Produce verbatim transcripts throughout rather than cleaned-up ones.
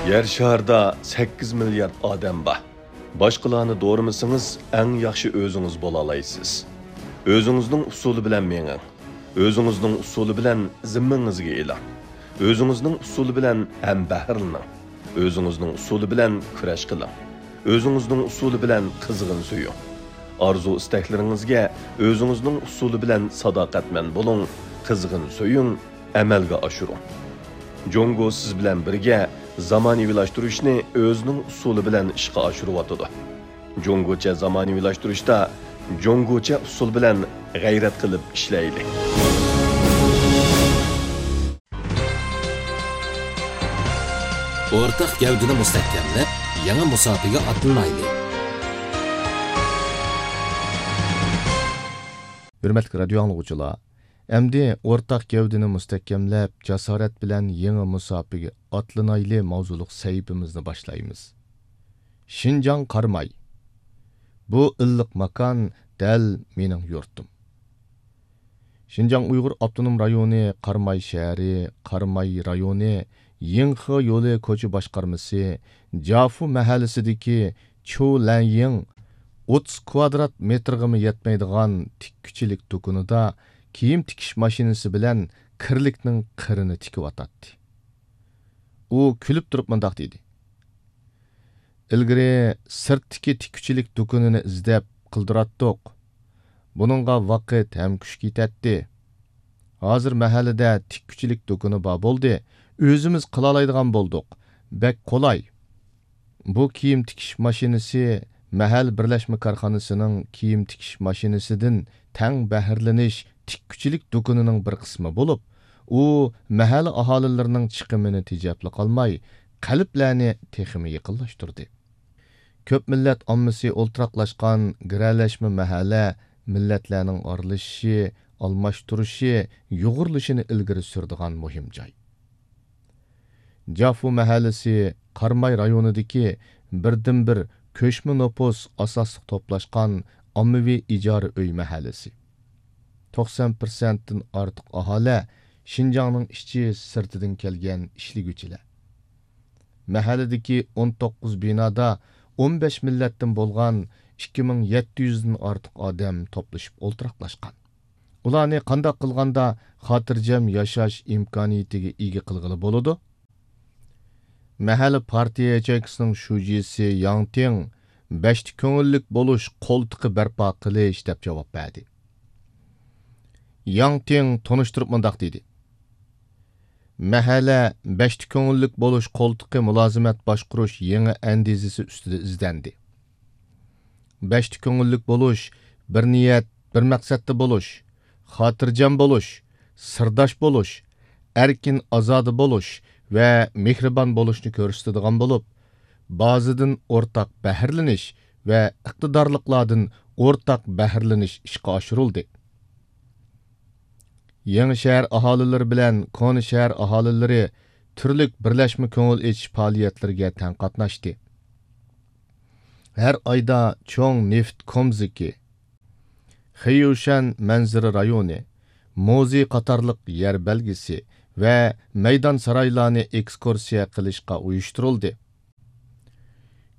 يەر شارىدا سەككىز مىليارد ئادەم بار. باشقىلارنى دورىمىسىڭىز، ئەڭ ياخشى ئۆزىڭىز بولالايسىز. ئۆزىڭىزنىڭ ئۇسۇلى بىلەن مېڭىڭ. ئۆزىڭىزنىڭ ئۇسۇلى بىلەن زىممىڭىزگە ئېلىڭ. ئۆزىڭىزنىڭ ئۇسۇلى بىلەن ھەمبەھىرلىنىڭ. ئۆزىڭىزنىڭ ئۇسۇلى بىلەن كۈرەش قىلىڭ. ئۆزىڭىزنىڭ ئۇسۇلى بىلەن قىزغىن سۆيۈڭ. ئارزۇ-ئىستەكلىرىڭىزگە ئۆزىڭىزنىڭ ئۇسۇلى بىلەن ساداقەتمەن بولۇڭ، قىزغىن سۆيۈڭ، ئەمەلگە ئاشۇرۇڭ. جۇڭگو سىز بىلەن بىرگە زامانىۋىلاشتۇرۇشنى ئۆزىنىڭ ئۇسۇلى بىلەن ئىشقا ئاشۇرۇۋاتىدۇ. جۇڭگوچە زامانىۋىلاشتۇرۇشتا جۇڭگوچە ئۇسۇل بىلەن غەيرەت قىلىپ ئىشلەيلى. ئورتاق گەۋدىنى مۇستەھكەملەپ، يېڭى مۇساپىگە ئاتلىنايلى. ھۆرمەتلىك رادىيو ئاڭلىغۇچىلار، ئەمدى ئورتاق گەۋدىنى مۇستەھكەملەپ، جاسارەت بىلەن يېڭى مۇساپىگە ئاتلىنايلى ماۋزۇلۇق سەھىپىمىزنى باشلايمىز. شىنجاڭ قاراماي. بۇ ئىللىق ماكان دەل مېنىڭ يۇرتۇم. شىنجاڭ ئۇيغۇر ئاپتونوم رايونى قاراماي شەھىرى، قاراماي رايونى يىڭخې يولى كوچا باشقارمىسى جافۇ مەھەللىسىدىكى چيۇ لەنيىڭ ئوتتۇز كۋادرات مېتىرغىمۇ يەتمەيدىغان تىككۈچىلىك دۇكىنىدا كىيىم تىكىش ماشىنىسى بىلەن كىرلىكنىڭ قىرىنى تىكىۋاتاتتى. ئۇ كۈلۈپ تۇرۇپ مۇنداق دېدى: «ئىلگىرى سىرتتىكى تىككۈچىلىك دۇكىنىنى ئىزدەپ قىلدۇراتتۇق. بۇنىڭغا ۋاقىت ھەم كۈچ كېتەتتى. ھازىر مەھەللىدە تىككۈچىلىك دۇكىنى بار بولدى. ئۆزىمىز قىلالايدىغان بولدۇق. بەك قولاي.» بۇ كىيىم تىكىش ماشىنىسى مەھەللە بىرلەشمە كارخانىسىنىڭ كىيىم تىكىش ماشىنىسىدىن تەڭ بەھرىلىنىش تىككۈچىلىك دۇكىنىنىڭ بىر قىسمى بولۇپ، ئۇ مەھەللە ئاھالىلىرىنىڭ چىقىمىنى تېجەپلا قالماي، قەلبلەرنى تېخىمۇ يېقىنلاشتۇردى. كۆپ مىللەت ئاممىسى ئولتۇراقلاشقان گىرەلەشمە مەھەللە مىللەتلەرنىڭ ئارىلىشىشى، ئالماشتۇرۇشى، يۇغۇرۇلۇشىنى ئىلگىرى سۈرىدىغان مۇھىم جاي. جافۇ مەھەللىسى قاراماي رايونىدىكى بىردىنبىر كۆچمە نوپۇس ئاساسلىق توپلاشقان ئاممىۋى ئىجارە ئۆي مەھەللىسى. توقسان پىرسەنتتىن ئارتۇق ئاھالە شىنجاڭنىڭ ئىچى سىرتىدىن كەلگەن ئىشلىگۈچىلەر. مەھەللىدىكى ئون توققۇز بىنادا ئون بەش مىللەتتىن بولغان ئىككى مىڭ يەتتە يۈزدىن ئارتۇق ئادەم توپلىشىپ ئولتۇراقلاشقان. ئۇلارنى قانداق قىلغاندا خاتىرجەم ياشاش ئىمكانىيىتىگە ئىگە قىلغىلى بولىدۇ؟ مەھەللە پارتىيە ياچېيكىسىنىڭ شۇجىسى ياڭ تىڭ «بەشتە كۆڭۈللۈك بولۇش قولتۇقى بەرپا قىلىش» دەپ جاۋاب بەردى. ياڭ تىڭ تونۇشتۇرۇپ مۇنداق دېدى: «مەھەللە بەشتە كۆڭۈللۈك بولۇش قولتۇقى مۇلازىمەت باشقۇرۇش يېڭى ئەندىزىسى ئۈستىدە ئىزدەندى. بەشتە كۆڭۈللۈك بولۇش، بىر نىيەت، بىر مەقسەتتە بولۇش، خاتىرجەم بولۇش، سىرداش بولۇش، ئەركىن ئازادە بولۇش ۋە مېھرىبان بولۇشنى كۆرسىتىدىغان بولۇپ، بازىدىن ئورتاق بەھرىلىنىش ۋە ئىقتىدارلىقلاردىن ئورتاق بەھرىلىنىش ئىشقا ئاشۇرۇلدى.» يېڭى شەھەر ئاھالىلىرى بىلەن كونا شەھەر ئاھالىلىرى تۈرلۈك بىرلەشمە كۆڭۈل ئېچىش پائالىيەتلىرىگە تەڭ قاتناشتى. ھەر ئايدا چوڭ نېفىت كومزىكى، خېييۇشەن مەنزىرە رايونى، مۇزېي قاتارلىق يەر بەلگىسى ۋە مەيدان سارايلارنى ئېكسكۇرسىيە قىلىشقا ئۇيۇشتۇرۇلدى.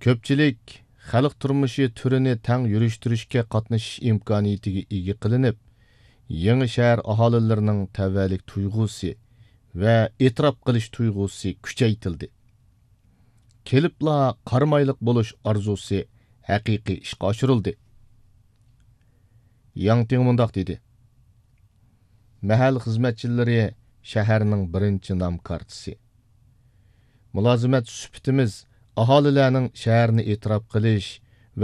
كۆپچىلىك خەلق تۇرمۇشى تۈرىنى تەڭ يۈرۈشتۈرۈشكە قاتنىشىش ئىمكانىيىتىگە ئىگە قىلىنىپ، يېڭى شەھەر ئاھالىلىرىنىڭ تەۋەلىك تۇيغۇسى ۋە ئېتىراپ قىلىش تۇيغۇسى كۈچەيتىلدى. كېلىپلا قارامايلىق بولۇش ئارزۇسى ھەقىقىي ئىشقا ئاشۇرۇلدى. ياڭ تىڭ مۇنداق دېدى: «مەھەللە خىزمەتچىلىرى شەھەرنىڭ بىرىنچى نام كارتىسى. مۇلازىمەت سۈپىتىمىز ئاھالىلەرنىڭ شەھەرنى ئېتىراپ قىلىش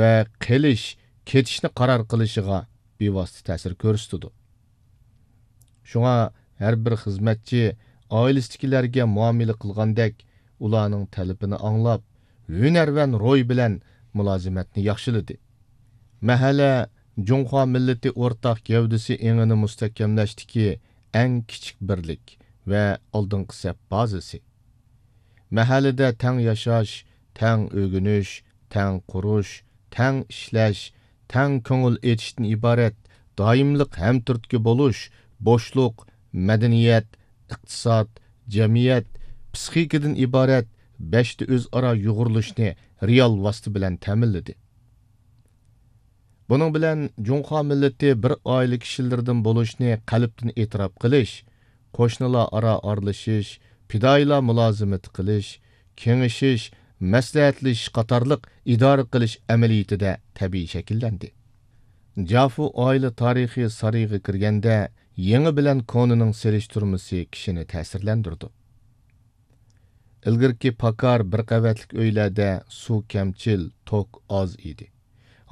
ۋە قېلىش، كېتىشنى قارار قىلىشىغا بىۋاسىتە تەسىر كۆرسىتىدۇ. شۇڭا ھەر بىر خىزمەتچى ئائىلىسىدىكىلەرگە مۇئامىلە قىلغاندەك ئۇلارنىڭ تەلىپىنى ئاڭلاپ، ھۈنەرۋەن روھ بىلەن مۇلازىمەتنى ياخشىلىدى.» مەھەللە جۇڭخۇا مىللىتى ئورتاق گەۋدىسى ئېڭىنى مۇستەھكەملەشتىكى ئەڭ كىچىك بىرلىك ۋە ئالدىنقى سەپ بازىسى. مەھەللىدە تەڭ ياشاش، تەڭ ئۆگىنىش، تەڭ قۇرۇش، تەڭ ئىشلەش، تەڭ كۆڭۈل ئېچىشتىن ئىبارەت دائىملىق ھەمتۈرتكە بولۇش، بوشلۇق، مەدەنىيەت، ئىقتىساد، جەمئىيەت، پىسخىكىدىن ئىبارەت بەشتە ئۆزئارا يۇغۇرۇلۇشنى رېئال ۋاسىتە بىلەن تەمىنلىدى. بۇنىڭ بىلەن جۇڭخۇا مىللىتى بىر ئائىلە كىشىلىرىدىن بولۇشنى قەلبتىن ئېتىراپ قىلىش، قوشنىلار ئارا ئارىلىشىش، پىدائىيلار مۇلازىمىتى قىلىش، كېڭىشىش، مەسلىھەتلىشىش قاتارلىق ئىدارە قىلىش ئەمەلىيىتىدە تەبىئىي شەكىللەندى. جافۇ ئائىلە تارىخىي سارىيىغا كىرگەندە، يېڭى بىلەن كونىنىڭ سېلىشتۇرمىسى كىشىنى تەسىرلەندۈرىدۇ. ئىلگىرىكى پاكار بىر قەۋەتلىك ئۆيلەردە سۇ كەمچىل، توك ئاز ئىدى.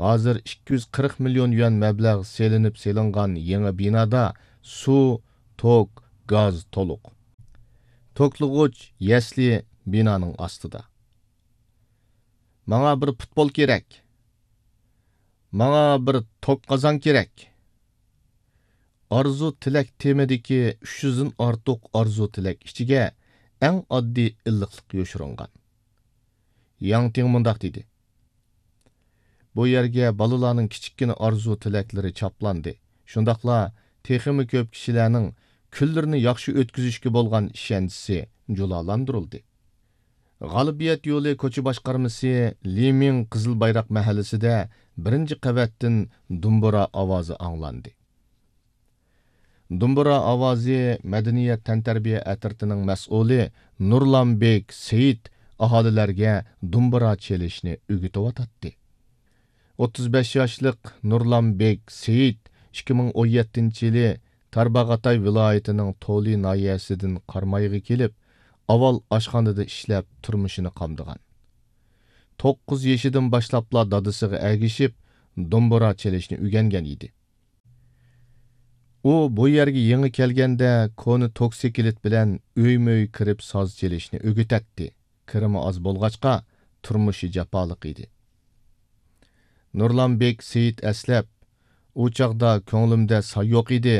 ھازىر ئىككى يۈز قىرىق مىليون يۈەن مەبلەغ سېلىنىپ سېلىنغان يېڭى بىنادا سۇ، توك، گاز تولۇق. توكلىغۇچ يەسلى بىنانىڭ ئاستىدا. ماڭا بىر پۇتبول كېرەك. ماڭا بىر توك قازان كېرەك. ئارزۇ تىلەك تېمىدىكى ئۈچ يۈزدىن ئارتۇق ئارزۇ تىلەك ئىچىگە ئەڭ ئاددىي ئىللىقلىق يوشۇرۇنغان. ياڭ تىڭ مۇنداق دېدى: بۇ يەرگە بالىلارنىڭ كىچىككىنە ئارزۇ تىلەكلىرى چاپلاندى. شۇنداقلا تېخىمۇ كۆپ كىشىلەرنىڭ كۈنلىرىنى ياخشى ئۆتكۈزۈشكە بولغان ئىشەنچىسى جۇلالاندۇرۇلدى. غالىبىيەت يولى كوچا باشقارمىسى لىمىڭ قىزىل بايراق مەھەللىسىدە بىرىنچى قەۋەتتىن دۇمبۇرا ئاۋازى ئاڭلاندى. دۇمبۇرا ئاۋازى مەدەنىيەت تەنتەربىيە ئەترىتىنىڭ مەسئۇلى نۇرلانبېك سېيىت ئاھالىلەرگە دۇمبۇرا چېلىشنى ئۆگىتىۋاتاتتى. ئوتتۇز بەش ياشلىق نۇرلانبېك سېيىت ئىككى مىڭ ئون يەتتىنچى يىلى تارباغاتاي ۋىلايىتىنىڭ تولى ناھىيەسىدىن قارامايغا كېلىپ، ئاۋۋال ئاشخانىدا ئىشلەپ، تۇرمۇشىنى قامدىغان. توققۇز يېشىدىن باشلاپلا دادىسىغا ئەگىشىپ، دومبۇرا چېلىشنى ئۆگەنگەن ئىدى. ئۇ بۇ يەرگە يېڭى كەلگەندە، كونا توكسىكلىت بىلەن ئۆيمۇ ئۆي كىرىپ ساز چېلىشنى ئۆگىتەتتى. كىرىمى ئاز بولغاچقا، تۇرمۇشى جاپالىق ئىدى. نۇرلانبېك سېيىت ئەسلەپ، ئۇ چاغدا كۆڭلۈمدە ساي يوق ئىدى.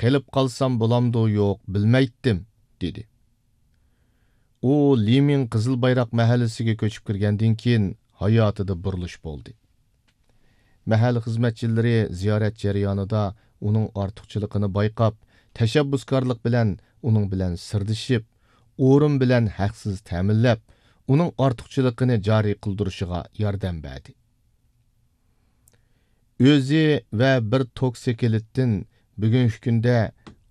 قېلىپ قالسام بولامدۇ يوق بىلمەيتتىم، دېدى. ئۇ لىمىڭ قىزىل بايراق مەھەللىسىگە كۆچۈپ كىرگەندىن كېيىن، ھاياتىدا بۇرۇلۇش بولدى. مەھەللە خىزمەتچىلىرى زىيارەت جەريانىدا ئۇنىڭ ئارتۇقچىلىقىنى بايقاپ، تەشەببۇسكارلىق بىلەن ئۇنىڭ بىلەن سىردىشىپ، ئورۇن بىلەن ھەقسىز تەمىنلەپ، ئۇنىڭ ئارتۇقچىلىقىنى جارى قىلدۇرۇشىغا ياردەم بەردى. ئۆزى ۋە بىر توكسىكلىتتىن بۈگۈنكى كۈندە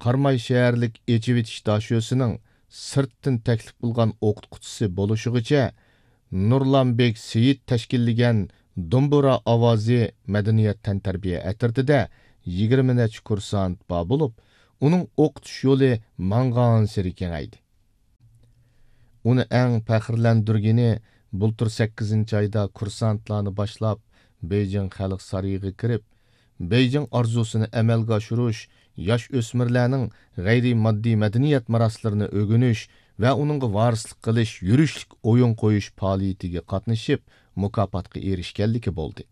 قاراماي شەھەرلىك ئېچىۋېتىش داشۆسىنىڭ سىرتتىن تەكلىپ قىلغان ئوقۇتقۇچىسى بولۇشىغىچە، نۇرلانبېك سېيىت تەشكىللىگەن دومبۇرا ئاۋازى مەدەنىيەت تەنتەربىيە ئەترىتىدە يىگىرمە نەچچە كۇرسانت بار بولۇپ، ئۇنىڭ ئوقۇتۇش يولى ماڭغانسېرى كېڭەيدى. ئۇنى ئەڭ پەخىرلەندۈرگىنى، بۇلتۇر سەككىزىنچى ئايدا كۇرسانتلارنى باشلاپ، بېيجىڭ خەلق سارىيىغا كىرىپ، بېيجىڭ ئارزۇسىنى ئەمەلگە ئاشۇرۇش، ياش ئۆسمۈرلەرنىڭ غەيرىي ماددىي مەدەنىيەت مىراسلىرىنى ئۆگىنىش ۋە ئۇنىڭغا ۋارىسلىق قىلىش يۈرۈشلۈك ئويۇن قويۇش پائالىيىتىگە قاتنىشىپ، مۇكاپاتقا ئېرىشكەنلىكى بولدى.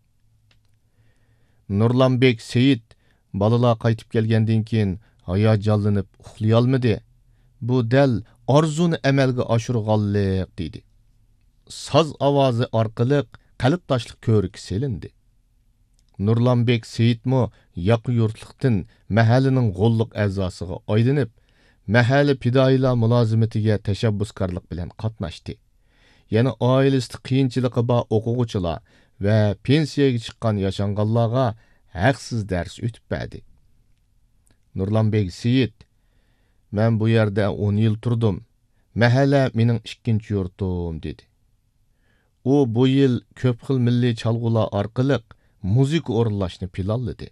نۇرلانبېك سېيىت بالىلار قايتىپ كەلگەندىن كېيىن ھاياجانلىنىپ ئۇخلىيالمىدى. بۇ دەل ئارزۇنى ئەمەلگە ئاشۇرغانلىق، دېدى. ساز ئاۋازى ئارقىلىق قەلبداشلىق كۆۋرۈكى سېلىندى. نۇرلانبېك سېيىتمۇ ياقا يۇرتلۇقتىن مەھەللىنىڭ غوللۇق ئەزاسىغا ئايلىنىپ، مەھەللە پىدائىيلار مۇلازىمىتىگە تەشەببۇسكارلىق بىلەن قاتناشتى. يەنە ئائىلىسىدە قىيىنچىلىقى بار ئوقۇغۇچىلار ۋە پېنسىيەگە چىققان ياشانغانلارغا ھەقسىز دەرس ئۆتۈپ بەردى. نۇرلانبېك سېيىت، مەن بۇ يەردە ئون يىل تۇردۇم. مەھەللە مېنىڭ ئىككىنچى يۇرتۇم، دېدى. ئۇ بۇ يىل كۆپ خىل مىللىي چالغۇلار ئارقىلىق مۇزىكا ئورۇنلاشنى پىلانلىدى.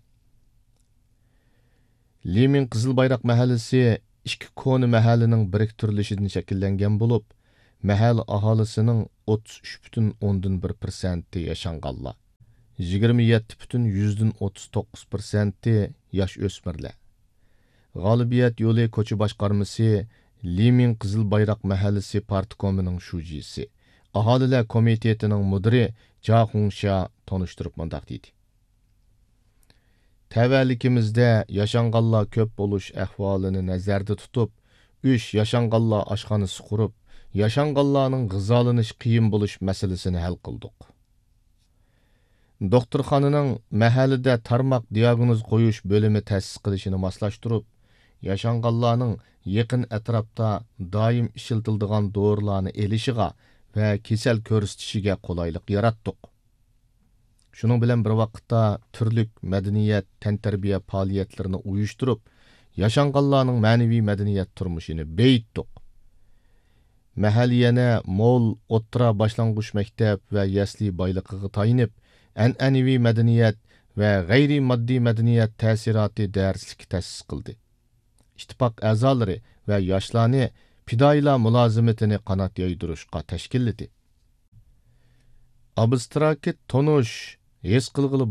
لىمىڭ قىزىل بايراق مەھەللىسى ئىككى كونا مەھەللىنىڭ بىرىكتۈرۈلۈشىدىن شەكىللەنگەن بولۇپ، مەھەللە ئاھالىسىنىڭ ئوتتۇز ئۈچ پۈتۈن ئوندىن بىر پىرسەنتى ياشانغانلار، يىگىرمە يەتتە پۈتۈن يۈزدىن ئوتتۇز توققۇز پىرسەنتى ياش ئۆسمۈرلەر. غالىبىيەت يولى كوچا باشقارمىسى لىمىڭ قىزىل بايراق مەھەللىسى پارتكومىنىڭ شۇجىسى، ئاھالىلەر كومىتېتىنىڭ مۇدىرى جا خۇڭشيا تونۇشتۇرۇپ مۇنداق دېدى: تەۋەلىكىمىزدە ياشانغانلار كۆپ بولۇش ئەھۋالىنى نەزەردە تۇتۇپ، ئۈچ ياشانغانلار ئاشخانىسى قۇرۇپ، ياشانغانلارنىڭ غىزالىنىش قىيىن بولۇش مەسىلىسىنى ھەل قىلدۇق. دوختۇرخانىنىڭ مەھەللىدە تارماق دىياگنوز قويۇش بۆلۈمى تەسىس قىلىشىنى ماسلاشتۇرۇپ، ياشانغانلارنىڭ يېقىن ئەتراپتا دائىم ئىشلىتىلىدىغان دورىلارنى ئېلىشىغا ۋە كېسەل كۆرسىتىشىگە قولايلىق ياراتتۇق. شۇنىڭ بىلەن بىر ۋاقىتتا، تۈرلۈك مەدەنىيەت، تەنتەربىيە پائالىيەتلىرىنى ئۇيۇشتۇرۇپ، ياشانغانلارنىڭ مەنىۋى مەدەنىيەت تۇرمۇشىنى بېيىتتۇق. مەھەللىيەنە مول ئوتتۇرا باشلانغۇچ مەكتەپ ۋە يەسلى بايلىقىغا تايىنىپ، ئەنئەنىۋى مەدەنىيەت ۋە غەيرىي ماددىي مەدەنىيەت تەسىراتى دەرسلىكى تەسىس قىلدى. ئىتتىپاق ئەزالىرى ۋە ياشلارنى پىدائىيلار مۇلازىمىتىنى قانات يايدۇرۇشقا تەشكىللىدى. ئابستراكت تونۇش، ھېس قىلغىلى